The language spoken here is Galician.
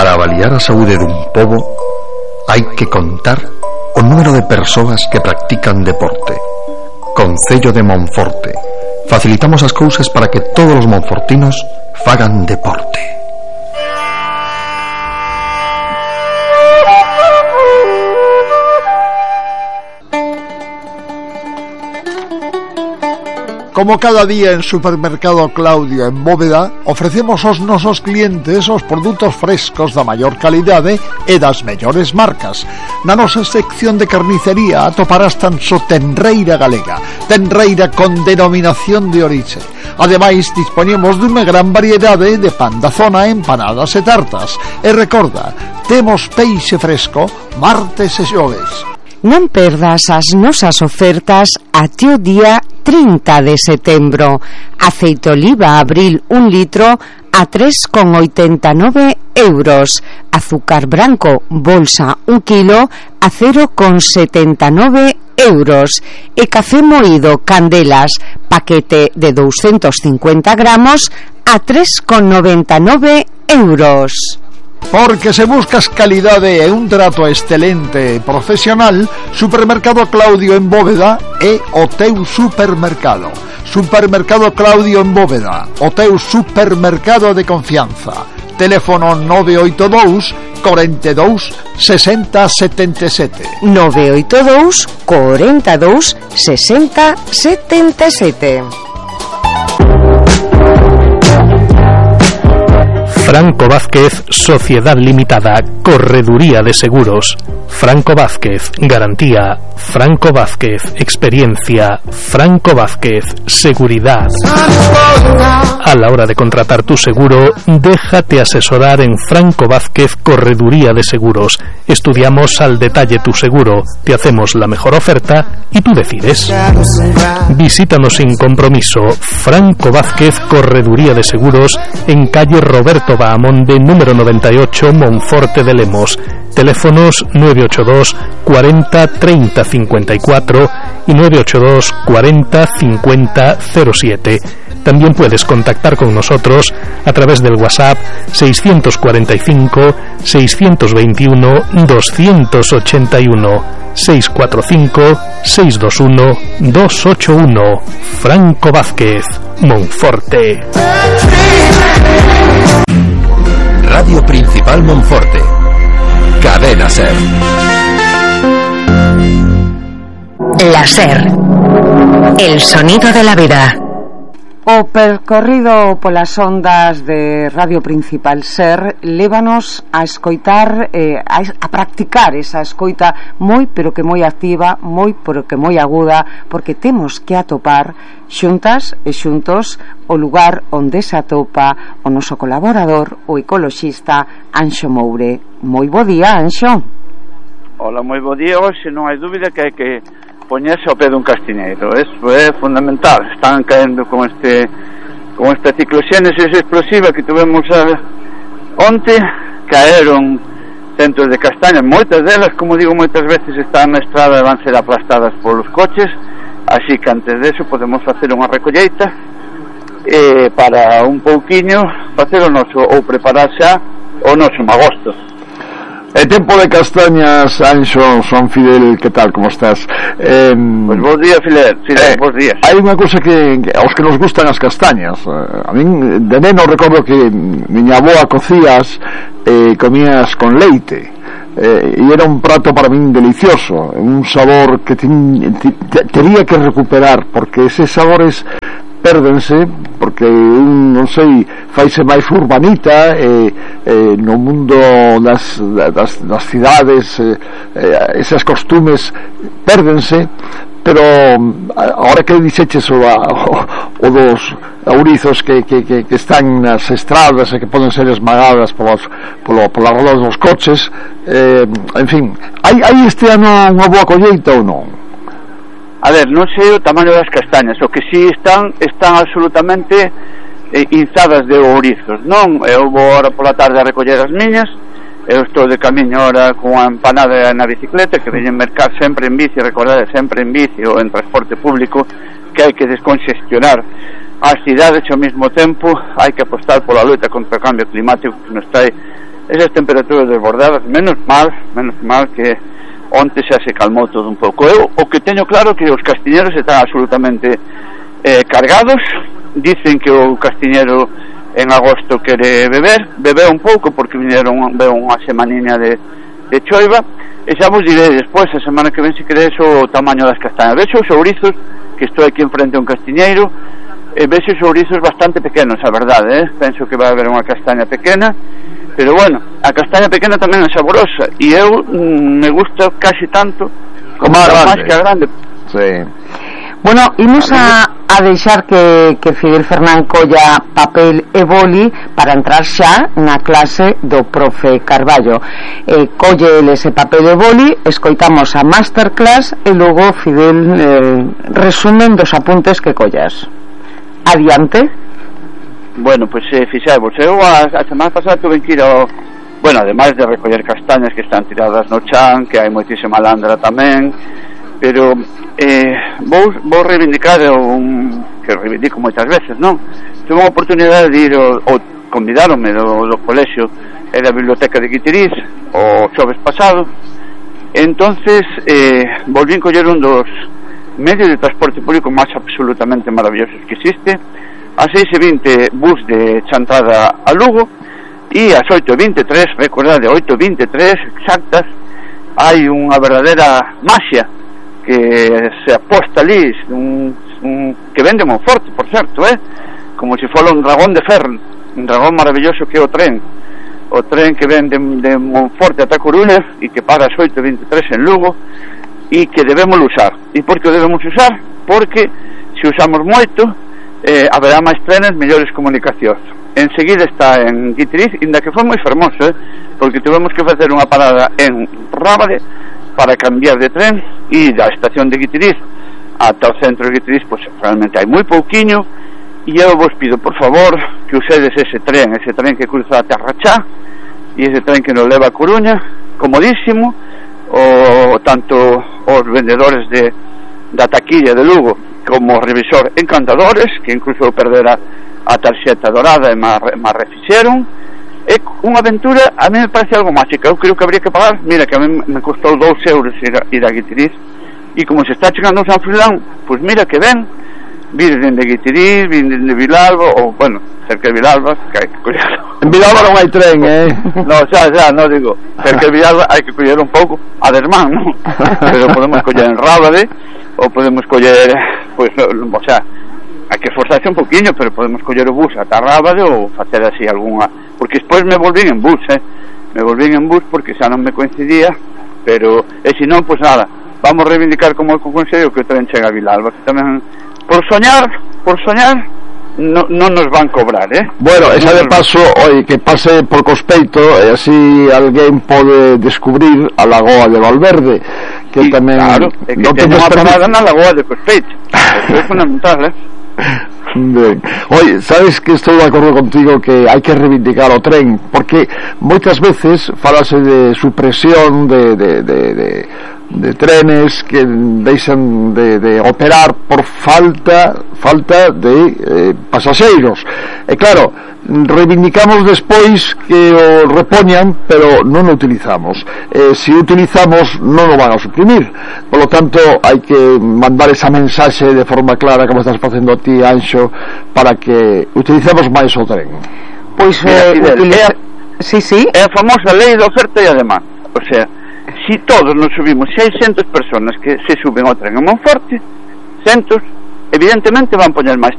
Para avaliar a saúde dun pobo hai que contar o número de persoas que practican deporte. Concello de Monforte. Facilitamos as cousas para que todos os monfortinos fagan deporte. Como cada día en Supermercado Claudio en Bóveda, ofrecemos aos nosos clientes os produtos frescos da maior calidade e das mellores marcas. Na nosa sección de carnicería atoparás tan só tenreira galega, tenreira con denominación de orixe. Ademais, dispoñemos dunha gran variedade de pan da zona, empanadas e tartas. E recorda, temos peixe fresco martes e xoves. Non perdas as nosas ofertas até o día 30 de setembro. Aceite oliva Abril 1 litro a 3,89 euros. Azúcar branco bolsa 1 kilo a 0,79 euros. E café moído Candelas paquete de 250 gramos a 3,99 euros. Porque se buscas calidade e un trato excelente e profesional, Supermercado Claudio en Bóveda é o teu supermercado. Supermercado Claudio en Bóveda, o teu supermercado de confianza. Teléfono 982 42 60 77. 982 42 60 77. Franco Vázquez, Sociedad Limitada, Correduría de Seguros. Franco Vázquez, garantía. Franco Vázquez, experiencia. Franco Vázquez, seguridad. A la hora de contratar tu seguro, déjate asesorar en Franco Vázquez, Correduría de Seguros. Estudiamos al detalle tu seguro, te hacemos la mejor oferta y tú decides. Visítanos sin compromiso. Franco Vázquez, Correduría de Seguros, en calle Roberto Bahamonde, número 98, Monforte de Lemos. Teléfonos 982 40 30 54 y 982 40 50 07. También puedes contactar con nosotros a través del WhatsApp 645 621 281 645 621 281. Franco Vázquez, Monforte. Radio Principal Monforte. Cadena SER. La SER. El sonido de la vida. O percorrido polas ondas de Radio Principal SER lévanos a escoitar, a practicar esa escoita moi pero que moi activa, moi pero que moi aguda, porque temos que atopar xuntas e xuntos o lugar onde se atopa o noso colaborador, o ecoloxista Anxo Moure. Moi bo día, Anxo. Hola, moi bo día. Hoxe non hai dúbida que hai que poñerse ao pé dun castiñeiro. Eso é fundamental. Están caendo con esta cicloxénesis explosiva que tuvemos onte. Caeron centros de castañas, moitas delas, como digo, moitas veces están na estrada e van ser aplastadas polos coches, así que antes deso podemos facer unha recolleita para un pouquiño facer o noso, ou preparar xa o noso magosto. É tempo de castañas, Anxo, Son Fidel, que tal, como estás? Pois bons días, Fidel, bons días. Hai unha cousa que aos que nos gustan as castañas. A min, de neno, recordo que miña avoa cocías e comías con leite. E era un prato para min delicioso, un sabor que tería que recuperar, porque eses sabores pérdense porque non sei, faise máis urbanita no mundo das cidades, esas costumes pérdense, pero agora que dixeches o dos ourizos que están nas estradas e que poden ser esmagadas polas rodas dos coches, en fin, hai este ano unha boa colleita ou non? A ver, non sei o tamaño das castañas, o que si están absolutamente inzadas de ourizos, non? Eu vou ahora pola tarde a recoller as miñas, eu estou de camiño ahora con a empanada na bicicleta, que veñen mercar sempre en bici, recordade, sempre en bici ou en transporte público, que hai que desconxestionar as cidades, ao mesmo tempo hai que apostar pola loita contra o cambio climático que nos trae esas temperaturas desbordadas. Menos mal que onte xa se calmou todo un pouco. Eu o que teño claro que os castiñeros están absolutamente cargados. Dicen que o castiñero en agosto quere bebeu un pouco porque veu unha semaniña de choiva, e xa vos direi despois a semana que ven se queredes o tamaño das castañas. Vexo os ourizos, que estou aquí enfrente a un castiñeiro, e vexo os ourizos bastante pequenos, a verdade, penso que vai haber unha castaña pequena, pero bueno, a castaña pequena tamén é saborosa, e eu me gusta casi tanto como a máis que a grande. Sí. Bueno, imos a deixar que Fidel Fernán colla papel e boli para entrar xa na clase do profe Carballo. Colle ese papel e boli, escoitamos a masterclass e logo Fidel resumen dos apuntes que collas. Adiante. Bueno, pois fixemos, eu a semana pasada tuve que ir ao... Bueno, ademais de recoller castañas que están tiradas no chan, que hai moitísima landra tamén, pero vou reivindicar que reivindico moitas veces, non? Tuve unha oportunidade de ir ou convidaronme do colexio e da biblioteca de Guitiriz o xoves pasado. Entonces volvín coller un dos medios de transporte público máis absolutamente maravillosos que existe. A 6:20 bus de chantada a Lugo, e ás 8:23, recordade, 8:23 exactas, hai unha verdadeira maxia que se aposta ali, que vende Monforte, por certo, como se fora un dragón de ferro, un dragón maravilloso que é o tren que vende de Monforte ata Coruña e que para as 8:23 en Lugo, e que debemos usar. E por que o debemos usar? Porque se usamos moito haberá máis trenes, mellores comunicacións. Enseguida está en Guitiriz, inda que foi moi fermoso, porque tivemos que facer unha parada en Rábade para cambiar de tren, e da estación de Guitiriz ata o centro de Guitiriz, pois realmente hai moi pouquiño, e eu vos pido, por favor, que usedes ese tren que cruza a Terrachá, e ese tren que nos leva a Coruña, comodísimo, tanto os vendedores da taquilla de Lugo como o revisor encantadores, que incluso perdera a tarxeta dorada e má refixeron. É unha aventura, a mí me parece algo máxica. Eu creo que habría que pagar, mira que a mí me costou 2 euros ir a Guitiriz, e como se está chegando a San Frilán, pois mira que ven, vir dende Guitiriz, vir dende Vilalba, ou bueno, cerca de Vilalba, que hai que collerlo. En Vilalba non hai tren, No, xa, non digo, cerca de Vilalba hai que coller un pouco a desmán, non? Pero podemos coller en Rábade, ou podemos coller, pois, o sea, hai que esforzarse un poquinho, pero podemos coller o bus ata Rábade ou facer así algunha, porque despois me volvín en bus, porque xa non me coincidía, pero e se non, pois nada, vamos reivindicar como o Consello que o tren chega a Vilalba, que tamén por soñar non nos van cobrar, Bueno, esa de paso, que pase por Cospeito, e así alguén pode descubrir a Lagoa de Valverde, que tamén... Claro, é que ten unha parada na Lagoa de Cospeito, eso é fundamental, Ben. Oye, sabes que estou de acordo contigo que hai que reivindicar o tren, porque moitas veces falase de supresión de trenes que deixan de operar por falta de pasaxeiros, e claro, reivindicamos despois que o repoñan, pero non o utilizamos. Se o utilizamos non o van a suprimir, polo tanto hai que mandar esa mensaxe de forma clara, como estás facendo ti, Anxo, para que utilicemos máis o tren. Pois sí. É a famosa lei da oferta e a demanda. O sea, si todos nos subimos, se hai 100 personas que se suben ao tren en Monforte, 100 evidentemente van poñer máis